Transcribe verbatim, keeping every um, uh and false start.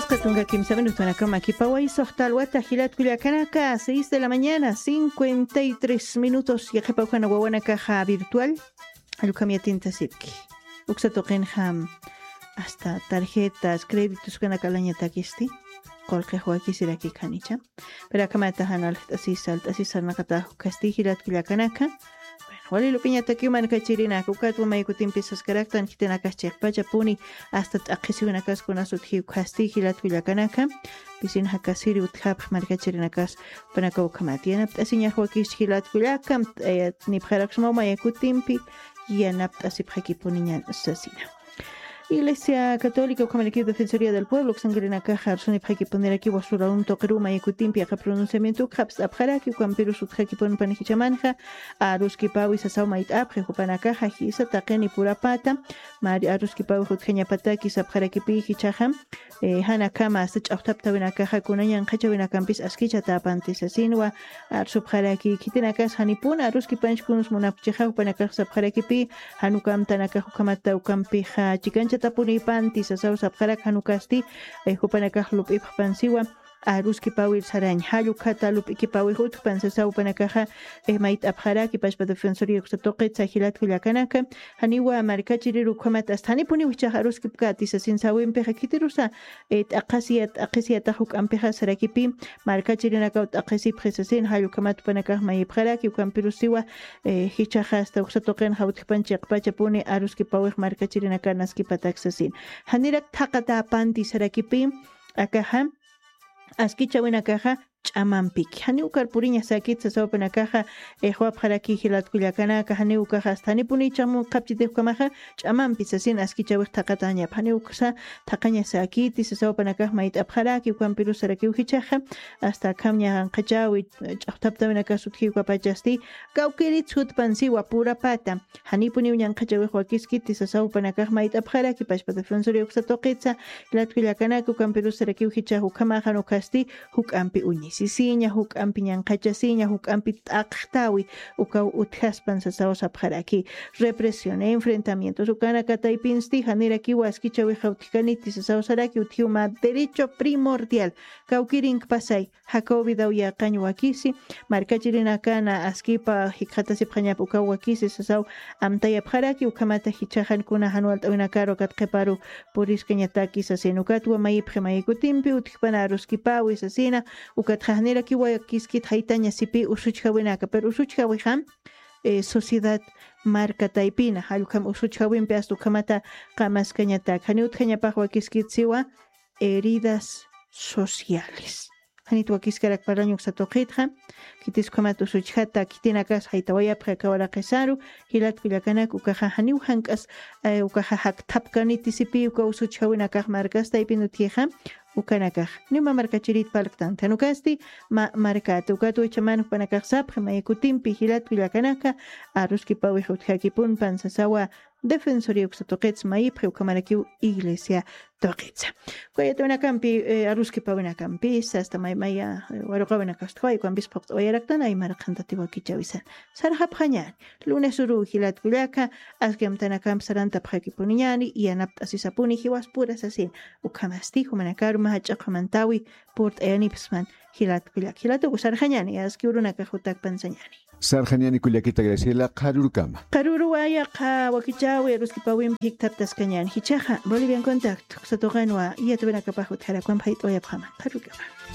Katunka kimsa minutunakama kipaway suxta alwata jilat kullakanaka, seis de la mañana, cincuenta y tres minutos. Yaqhipa ukhana wawanakaxa virtual, allukam yatintasipki. Uksa tuqinxam hasta tarjetas, créditos kanaka alañatakisti, qulqix wakisiraki khanicha. Pero akamata jan alxt'asisa, alt'asisa naqatax ukhasti jilat kullakanaka. Bueno, wali lup'iñatakiw markachirinaka, ukatwa may kutimpis saskaraktan, khitinakas chiqpachapuni hasta t'aqhisiwinakas kunas utjiw khasti jilat kullakanaka. Pisina jakasiri utjapx markachirinakas, jupanakaw ukhamat yanapt'asiñax wakis jilat kullaka, eh, nipxaraksmaw may kutimpi yanapt'asipxakipuniñan sasina. Iglesia Católica ukhamarakiw Defensoría del Pueblo uksankirinakaxa arsunipxakipunirakiw wasurawn tuqiruw may kutimpi aka pronunciamiento ukxapst'apxaraki, ukampirus utjakipunpan jichamanxa aruskipawi sasaw mayt'apxi jupanakaxa jisa taqini purapata, mari aruskipawi utjañapataki sapxarakipi jichaxa, eh, janakama hasta ch'axtaptawinakaxa kunañan qhachawinakampis askichatapanti sasinwa arsupxaraki, khitinakas janipun aruskipanch kunus munapchixa jupanakax sapxarakipi, janukamtanakax ukhamata ukampixa chikanchatapunipanti sasaw sapxarak janukasti, eh, jupanakax lup'ipxpansiwa aruskipawir sarañ, jall ukhata lup'ikipawix utjpan sasaw jupanakaxa, eh, mayt'apxaraki pachpa Defensoría uksa tuqitsa jilat kullakanaka, janiwa markachirir ukhamat hasta janipuniw jichax aruskipkati sasin sawimpixa khitirusa, eh, t'aqhasiya, t'aqhisiyatax juk'ampixa sarakipi, markachirinakaw t'aqhisipxi sasin, jall ukhamat jupanakax mayipxaraki, ukampirusiwa, eh, jichaxa hasta uksa tuqinxa utjpan chiqpachapuni aruskipawix markachirinaka naskipatak sasin. Janirak thaqatapanti sarakipi, akaxa, askichawinakaxa ch'amampiki. Janiw ukar puriña sakit sasaw jupanakaxa, eh, juwapxaraki jilat kullakanaka, janiw ukaxa hasta janipuni ch'amun qhapchitix ukhamaxa, ch'amampi sasin askichawix thaqatañap. Janiw uksa thaqaña sakiti sasaw jupanakax mayt'apxaraki, ukampirus sarakiw jichaxa, hasta akham ñaqanqachawi, eh, ch'axtaptawinakas utjiw kapachasti, kawkirit sutpansiwa purapata. Janipuniw ñanqhachawix wakiskiti sasaw jupanakax mayt'apxaraki pachpa Defensoría uksa tuqitsa, jilat kullakanaka, ukampirus sarakiw jichax ukhamaxa jan ukhasti, juk'ampi uñisisiña, juk'ampi ñanqhachasiña, juk'ampi t'aqxtawi, ukaw utjaspan sasaw sapxaraki. Represión, enfrentamientos, ukanaka taypinsti, janirakiw askichawixa utjkaniti sasaw saraki, utjiw mä derecho primordial, kawkirinkpasay, jakaw vidaw yaqañ wakisi, markachirinakana askipa jikxatasipxañap ukaw wakisi sasaw amtayapxaraki, ukhamata jichaxan kuna jan walt'awinakaru ukat qhiparu puriskañataki sasin, ukatwa mayipxi may kutimpi utjpan aruskipawi sasina, ukat janirakiw wakiskit jaytaña sipi usuchjawinaka, pero usuchjawixam, eh, sociedad marka taypina, jall ukham usuchjawimpi hasta ukhamata qamaskañatak, janiw utjañapax wakiskit siwa, heridas sociales. Janit wakiskarak parlañ uksa tuqitxa, khitis ukhamat usuchjata, khitinakas jaytawayapxi aka waraqisaru, jilat kullakanaka, ukaxa janiw jank'as, eh, ukaxa jakthapkaniti sipi, uka usuchjawinakax markas taypin utjixa, ukanakax. Niw mä markachirit parlktanti, jan ukasti mä markata, ukat wichaman jupanakax sapxi, may kutimpi jilat kullakanaka, aruskipawix utjakipunpan sasawa, Defensoría uksa tuqits mayipxi, ukhamarakiw iglesia tuqitsa. Uka yatawinakampi, eh, aruskipawinakampis, hasta may, maya, eh, waruqawinakas thaway, ukampis phuqt'awayaraktan, aymar qhantati wakichawisan. Sarxapxañäni, lunes uruw jilat kullaka, aski amtanakamp sarantapxakipuniñäni, yanapt'asisapuni jiwaspura sasin, ukhamasti, jumanakaru mä jach'a qhamantawi, purt'ayanipsman, jilat kullak. Jilat uka sarxañäni, aski urunakax jutak pansañäni. Sarxañäni kullakita Graciela, qharürkama. Qharüruwa yaqha wakichäwi aruskipawimpi jikthaptaskañäni. Jichhaxa, Bolivian Contacto, uksa tuqinwa, yatawinakapax utjarakwamp jayt'awayapxama. Qharürkama.